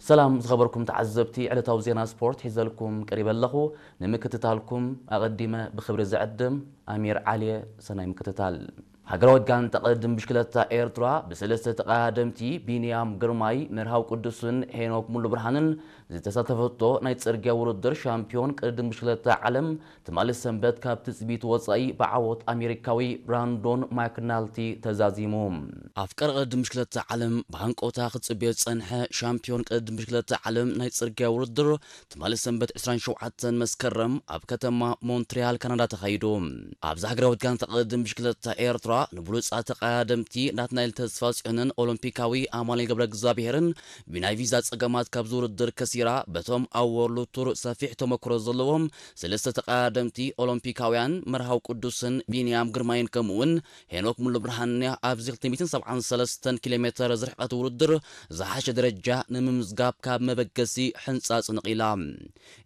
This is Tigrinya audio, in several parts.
ሰላም ዝኸበርኩም ተዓዘብቲ፣ ዕለታዊ ዜና ስፖርት ሒዘልኩም ቀሪበ ኣለኹ። ንምክትታልኩም ኣቐዲመ ብኽብሪ ዝዕድም ኣሚር ዓሊየ። ሰናይ ምክትታል። ሃገራዊት ጋንታ ቅድድም ብሽክለታ ኤርትራ ብሰለስተ ተቐዳደምቲ ቢንያም ግርማይ፣ መርሃው ቅዱስን ሄኖክ ሙሉ ብርሃንን ዝተሳተፈቶ ናይ ጽርግያ ውድድር ሻምፒዮን ቅድድም ብሽክለታ ዓለም ትማሊ ሰንበት ካብ ትጽቢት ወጻኢ ብዓወት ኣሜሪካዊ ብራንዶን ማክናልቲ ተዛዚሙ። ኣፍቃሪ ቅድድም ብሽክለታ ዓለም ብሃንቀውታ ክጽበዮ ዝጸንሐ ሻምፒዮን ቅድድም ብሽክለታ ዓለም ናይ ጽርግያ ውድድር ትማሊ ሰንበት ዕስራን ሸውዓተን መስከረም ኣብ ከተማ ሞንትሪያል ካናዳ ተኻይዱ። ኣብዚ ሃገራዊት ጋንታ ቅድድም ብሽክለታ ኤርትራ ንብሉጻት ተቐዳደምቲ ናትናኤል ተስፋጽዮንን ኦሎምፒካዊ ኣማኑኤል ገብረ እግዚኣብሄርን ብናይ ቪዛ ጸገማት ካብዚ ውድድር ከሲራ፣ በቶም ኣብ ወርልድ ቱር ሰፊሕ ተመክሮ ዘለዎም ሰለስተ ተቐዳደምቲ ኦሎምፒካውያን መርሃው ቅዱስን ቢንያም ግርማይን ከምኡውን ሄኖክ ሙሉ ብርሃንያ ኣብዚ ክልተ ሚእትን ሰብዓን ሰለስተን ኪሎ ሜተር ዝርሕቀት ውድድር ዝሓሸ ደረጃ ንምምዝጋብ ካብ መበገሲ ሕንጻጽ ነቒላ።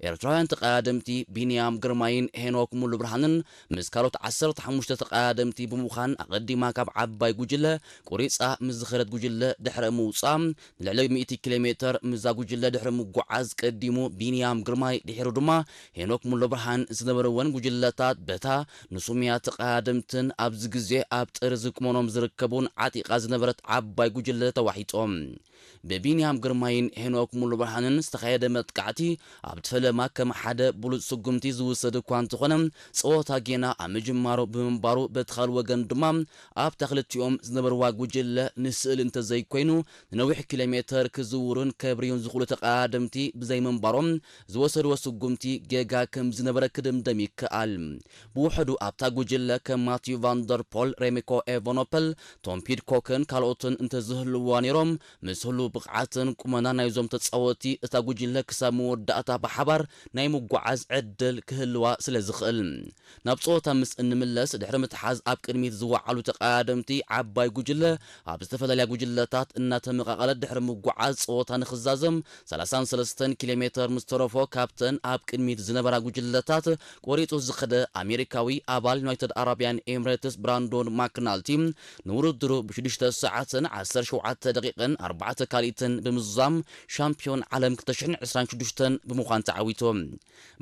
ኤርትራውያን ተቐዳደምቲ ቢንያም ግርማይን ሄኖክ ሙሉ ብርሃንን ምስ ካልኦት ዓሰርተ ሓሙሽተ ተቐዳደምቲ ብምዃን ኣቐዲማ ካብ ዓባይ ጉጅለ ቁሪጻ ምስ ዝኸደት ጉጅለ ድሕረ ምውጻ ንልዕሊ ሚእቲ ኪሎ ሜተር ምስዛ ጉጅለ ድሕሪ ምጉዓዝ ቀዲሙ ቢንያም ግርማይ ድሒሩ ድማ ሄኖክ ሙሉ ብርሃን ዝነበርወን ጉጅለታት በታ ንሱምያ ተቐዳደምትን ኣብዚ ግዜ ኣብ ጥርዚ ቁመኖም ዝርከቡን ዓጢቓ ዝነበረት ዓባይ ጉጅለ ተዋሒጦም። ብቢንያም ግርማይን ሄኖክ ሙሉ ብርሃንን ዝተኻየደ መጥቃዕቲ ኣብቲ ፈለማ ከም ሓደ ብሉጽ ስጉምቲ ዝውሰድ እኳ እንተኾነ፣ ጸወታ ጌና ኣብ ምጅማሩ ብምንባሩ በቲ ካልእ ወገን ድማ ኣብታ ክልቲኦም ዝነበርዋ ጉጅለ ንስእሊ እንተዘይኮይኑ ንነዊሕ ኪሎ ሜተር ክዝውሩን ከብርዩን ዝኽእሉ ተቐዳደምቲ ብዘይምንባሮም ዝወሰድዎ ስጉምቲ ጌጋ ከም ዝነበረ ክድምደም ይከኣል። ብውሕዱ ኣብታ ጉጅለ ከም ማቲዩ ቫንደርፖል፣ ሬሚኮ ኤቨኖፐል፣ ቶም ፒድኮክን ካልኦትን እንተዝህልውዋ ነይሮም፣ ምስ ህሉ ብቕዓትን ቁመና ናይዞም ተጻወቲ እታ ጉጅለ ክሳብ መወዳእታ ብሓባር ናይ ምጓዓዝ ዕድል ክህልዋ ስለ ዝኽእል። ናብ ጸወታ ምስ እንምለስ ድሕሪ ምትሓዝ ኣብ ቅድሚት ዝወዓሉ ተቐዳደምቲ ዓባይ ጉጅለ ኣብ ዝተፈላለያ ጉጅለታት እናተመቓቐለት ድሕሪ ምጓዓዝ ጸወታ ንኽዛዘም ሰላሳን ሰለስተን ኪሎ ሜተር ምስ ተረፎ ካብተን ኣብ ቅድሚት ዝነበራ ጉጅለታት ቆሪጹ ዝኸደ ኣሜሪካዊ ኣባል ዩናይትድ ኣረብያን ኤምሬትስ ብራንዶን ማክናልቲ ንውድድሩ ብሽዱሽተ ሰዓትን ዓሰርተ ሸውዓተ ደቂቕን ኣርባዕተ ካልኢትን ብምዝዛም ሻምፒዮን ዓለም ክልተ ሽሕን ዕስራን ሽዱሽተን ብምዃን ተዓዊቱ።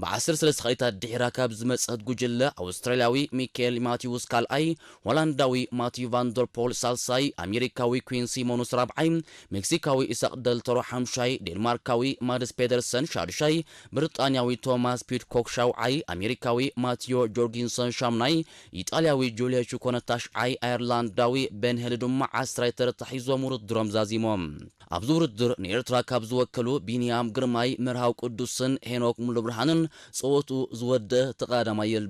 ብዓሰርተ ሰለስተ ካልኢታት ድሒራ ካብ ዝመጸት ጉጅለ ኣውስትራልያዊ ሚካኤል ማቲውስ ካልኣይ፣ ሆላንዳዊ ማቲዩ ቫንደርፖል ሳልሳይ፣ ኣሜሪካዊ ኩዊን ሲሞኑስ ራብዓይ፣ ሜክሲካዊ ኢሳቅ ደልተሮ ሓምሻይ፣ ዴንማርካዊ ማድስ ፔደርሰን ሻድሻይ፣ ብሪጣንያዊ ቶማስ ፒድኮክ ሻውዓይ፣ ኣሜሪካዊ ማቲዮ ጆርጊንሰን ሻምናይ፣ ኢጣልያዊ ጁልዮ ቹኮነ ታሽዓይ፣ ኣየርላንዳዊ ቤን ሄል ድማ ዓስራይ ተርታ ሒዞም ውድድሮም ዛዚሞም። ኣብዚ ውድድር ንኤርትራ ካብ ዝወከሉ ቢንያም ግርማይ፣ መርሃው ቅዱስን ሄኖክ ሙሉብርሃንን ጸወትኡ ዝወደአ ተቐዳዳማይ የልቦ።